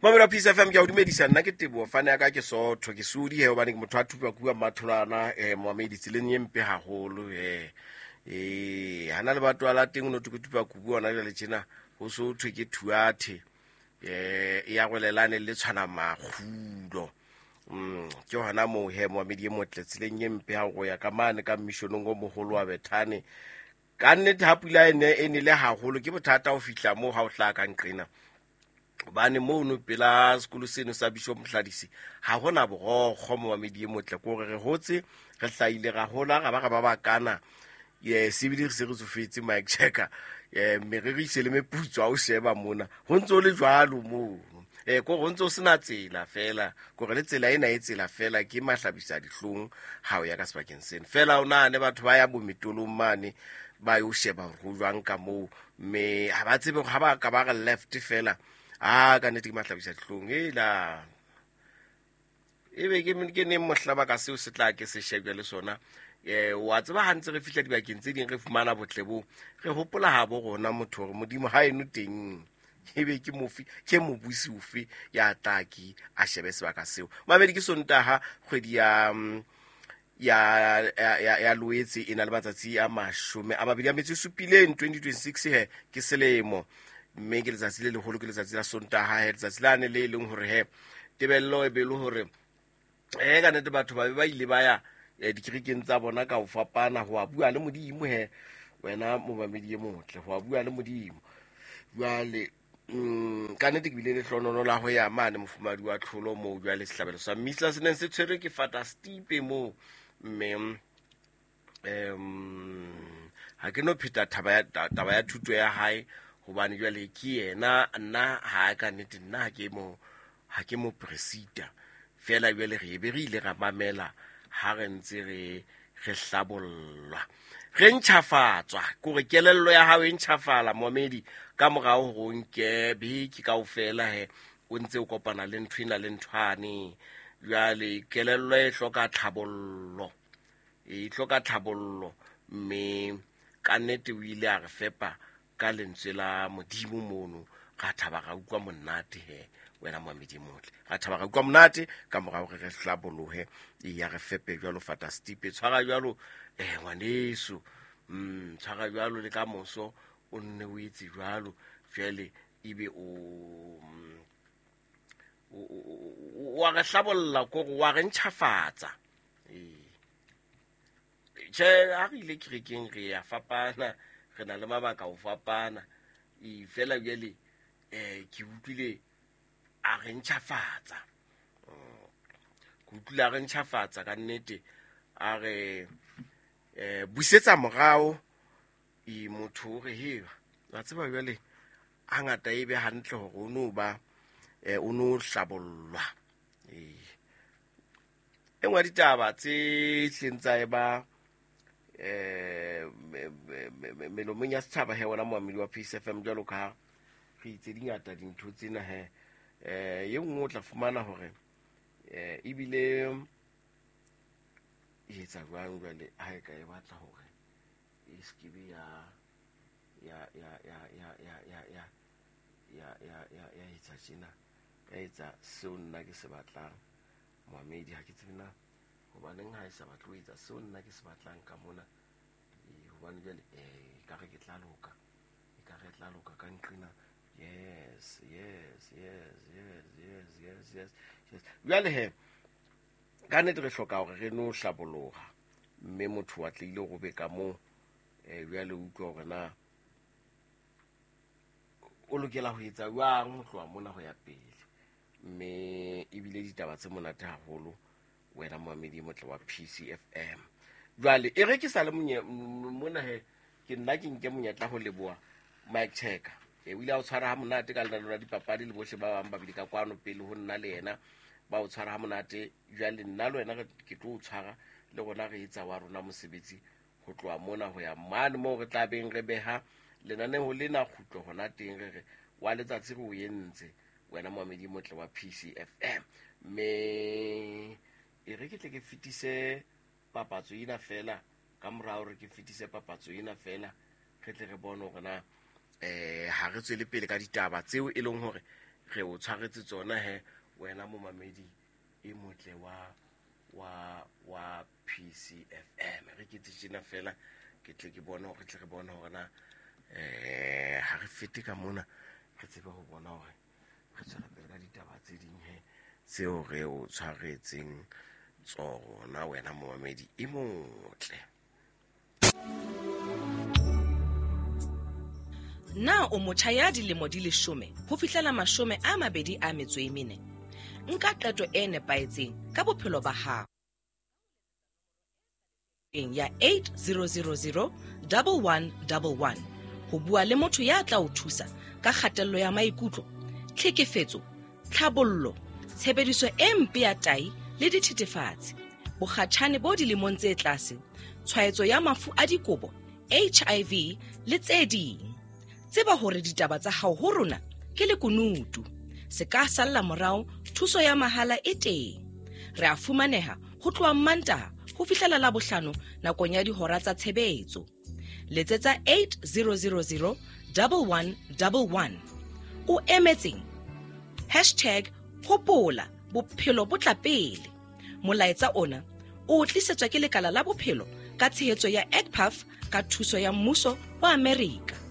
Mamelo wa Peace FM, ke a o dumedisa. Nna ke Teboho, fane ya ka ke Sotho, ke sodi he, hobane ke motho a thupa kua Mmatholwana. Momamedi, tseleng e mpe haholo he. Hana le batho la teng o no thwe ke thupa kubu hona jwale tjena ho so thwe ke thuathe. E ya gwelelane le tshwana makgulo. Ke hona moo he, momamedi e motle, tseleng e mpe ha go ya ka mane ka missionong o moholo wa Bethane. Ka nnete ha pula e ne e nele haholo ke bothata ho fihla moo ha o hlaha ka nqena, hobane mono pela sekolo seno sa Bishop Mhladisi ha hona borokgo. Momamedi e motle, ke hore re hotse, re hlahile, ra hola, ra ba ra ba bakana ye sebile re se re tsofetse, Mike Checker, meriri e se le meputso. Ha o sheba mona ho ntse o le jwalo mono, ko ho ntse o sena tsela fela, kore le tsela ena e tsela fela ke mahlabisa dihlong ha o ya ka sebakeng seno fela. O nahane batho ba ya bometolong mane ba yo sheba hore ho jwang ka moo, mme ha ba tsebe ha ba ka ba re left fela. A ka nnete ke mahlabisa dihlong ela ebe ke neng mohla baka seo se tla ke se shebje le sona. Wa tseba ha ntse re fihla dibakeng tse ding re fumana botle bo re hopola ha bo rona motho hore Modimo ha eno teng ebe ke mofi ke mobusi ofe ya tla ke a shebe sebaka seo. Mabedi ke Sontaha, kgwedi ya Loetse e na le matsatsi a 27, 2026 he ke selemo, mme ke letsatsi le leholo, ke letsatsi la Sontaha he, letsatsi lane le leng hore he tebello e be le hore ka nnete batho ba be ba ile ba ya dikerekeng tsa bona ka ho fapana ho a bua le Modimo he. Wena momamedi e motle, ho a bua le Modimo. Jwale ka nnete ke bile le hlonono la ho ya mane mofumadi wa tlholo moo jwale sehlabelo sa mmisa se neng se tshwerwe ke Fata Stipe moo, mme ha ke no pheta taba ya thuto ya hae, hobane jwale ke yena. Nna ha ka nnete nna ha ke mo presita fela. Jwale re be re ile ra mamela ha re ntse re hlabollwa, re ntjhafatswa, kore kelello ya hao e ntjhafala, momedi, ka morao hore o nke beke kaofela he o ntse o kopana le ntho ena le nthwane. Jwale kelello e hloka tlhabollo, e hloka tlhabollo, mme ka nnete o ile a re fepa ka lentswe la Modimo mono. Ra thaba, ra utlwa monate he, wena moamedi motle, ra thaba, ra utlwa monate ka morao re re hlabolohe. E ya re fepe jwalo Fata Stipe, tshwara jwalo ngwaneso, tshwara jwalo le ka moso o nne o etse jwalo. Jwale ebe o wa re hlabolla, kore wa re ntjhafatsa. Tjhe, ha re ile kerekeng re ya fapana, re na le mabaka ho fapana. Fela jwale ke utlwile a re ntjhafatsa, ke utlwile a re ntjhafatsa ka nnete, a re busetsa morao. Motho o re he wa tseba jwale hangata e be hantle hore o no ba o no hlabollwa. E nngwe ya ditaba tse hleng tsa e ba melomong ya setjhaba he, wona moamedi wa Peace FM, jwalo ka re itse dingata dintho tsena he. E nngwe o tla fumana hore ebile e etsa jwang jwale ha e ka e batla hore e se ke be ya ya ya ya ya ya ya ya ya ya ya ya etsa tjena, ya etsa seo nna ke se batlang. Moamedi, ha ke tsebe na hobaneng ha e sa batle ho etsa seo nna ke se batlang ka mona. Hobane jwale e ka re ke tla loka, e ka re tla loka ka nqena. Yes, yes, yes, yes, yes, yes, yes, yes. Jwale he ka nnete re hloka hore re no hlaboloha, mme motho wa tlile go be ka moo. Jwale utlwa hore na o lokela ho etsa jwang ho tloha mona ho ya pele, mme ebile ditaba tse monate haholo, wena moamedi motle wa PCFM. Jwale e re ke sa le mona he, ke nna ke nke monyetla ho leboha Mike Checker. O ile a o tshwara ha monate ka lenaneo la dipapadi le bohle ba bang ba bile ka kwano pele ho nna le yena ba o tshwara ha monate. Jwale nna le wena ke tlo o tshwara le rona re etsa wa rona mosebetsi ho tloha mona ho ya mane moo re tla beng re beha lenaneo lena kgutlo hona teng, re re wa letsatsi re o entse, wena moamedi motle wa PCFM. Mme e re ke tle ke fetise papatso ena fela, ka morao re ke fetise papatso ena fela, re tle re bone hore na ha re tswele pele ka ditaba tseo e leng hore Re o tshwaretse tsona he wena momamedi e motle wa wa wa PCFM. Re ke tjena fela ke tle ke bone hore tle re bone hore na ha re fete ka mona re tsebe ho bona hore re tswela pele ka ditaba tse ding he tseo re o tshwaretseng tsona wena momamedi e motle. Na o motjha ya dilemo di 10 ho fihlela 24? Nka qeto e nepahetseng ka bophelo ba hao ya 8000 1111 ho bua le motho ya tla o thusa ka kgatello ya maikutlo, tlhekefetso, tlhabollo, tshebediso e mpe ya tai le dithethefatsi, bokgatjhane bo dilemong tse tlase, tshwaetso ya mafu a dikobo, HIV le tse ding. Tseba hore ditaba tsa hao ho rona ke lekunutu. Se ka salla morao, thuso ya mahala e teng. Re a fumaneha ho tloha Mantaha ho fihlela Labohlano nakong ya dihora tsa tshebetso. Letsetsa 8000 1111. O emetseng? Hashtag hopola bophelo bo tla pele. Molaetsa ona o tlisetswa ke lekala la bophelo ka tshehetso ya ECPAF ka thuso ya mmuso wa Amerika.